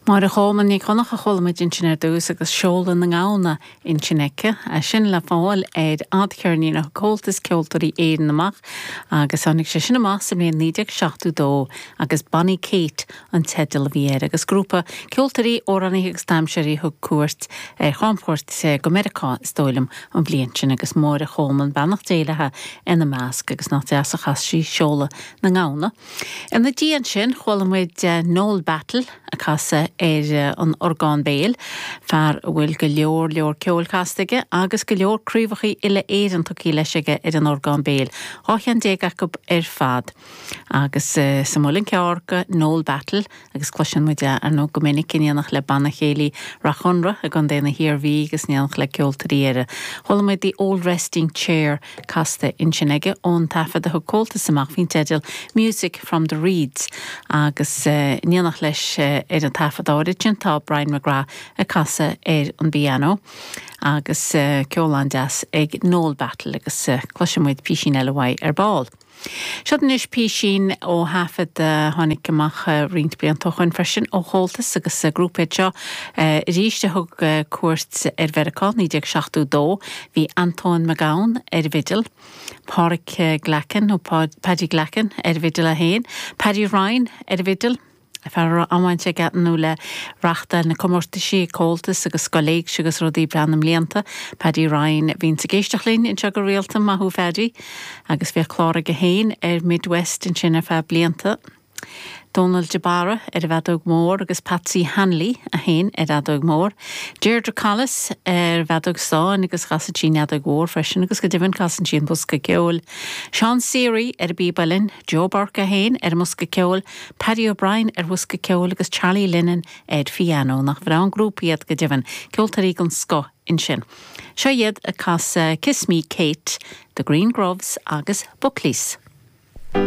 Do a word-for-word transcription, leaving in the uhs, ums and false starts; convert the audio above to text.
Máire Cholmáin Ní Dhonncha a chuala muid ansin ar dtús agus Seoladh na nGamhna ansin aici, sin le fáil ar fhadcheirnín a thug Comhaltas Ceoltóirí Éireann amach agus tháinig sé sin amach sa mbliain naoi déag seachtó dó agus Bonny Kate an teideal a bhí air agus grúpa ceoltóirí amhránaithe agus damhsóirí thug cuairt ar chamchuairt go Meiriceá is dóigh liom an bhliain sin agus Máire Cholmáin beannacht Dé léi ina measc agus nach deas a chas sí Seoladh na nGamhna. Ina dhiaidh sin chuala muid Noel Battle ag casadh ar an orgán béil, fear a bhfuil go leor leor ceoil casta aige agus go leor craobhacha uile Éireann tugtha leis aige ar an orgán béil, dhá cheann déag acu ar fad. Agus uh, sa Muileann Cearr go Noel Battle agus cloiseann muid é ar ndóigh go minic in éineacht le Banna Céilí Rath Chonra i gContae na hIarmhí agus in éineacht le ceoltóirí eile. Chuala muid The Old Resting Chair casta ansin aige ón taifead a thug Comhaltas amach faoin teideal Music from the Reeds agus uh, in éineacht leis uh, ar an taifead áirid sin tá Brian McGrath ag casadh ar an bpianó agus uh, ceol an-deas ag Noel Battle agus uh, cloisfidh muid písín eile uaidh ar ball. Seo anois písín ó thaifead uh, tháinig amach uh, roinnt blianta ó shin freisin ó Chomhaltas agus uh, grúpa seo uh, arís a thug uh, cuairt ar Mheiriceá naoi déag seachtó dó, bhí Anton McGowan ar bhfidil, Pádraig Glackin nó Paddy Glackin ar bhfidil a haon, Paddy Ryan ar bhfidil, fear amháin sé nó le reachtáil na comórtaisí Comhaltas agus scoil éigse agus rudaí breá na mblianta. Paddy Ryan bhíonn ag éisteacht linn anseo go rialta maith thú Paddy, agus bhí clár aige féin ar Midwest ansin ar feadh blianta. Donald de Barra ar an bhfeadóg mhór agus Patsy Hanley a haon ar fheadóg mhór. Deirdre Collis ar bhfeadóg stáin agus casann sí an fheadóg mhór freisin agus go deimhin casann sí an bosca ceoil. Sean Seary ar bpíob uilleann, Joe Burke a haon ar an mbosca ceoil, Paddy O'Brien ar bhosca ceoil agus Charlie Lennon ar piano nach bhreá an grúpa iad go deimhin, ceoltóirí den scoth ansin. Seo iad ag casadh Kiss Me Kate, The Green Groves agus Buckleys.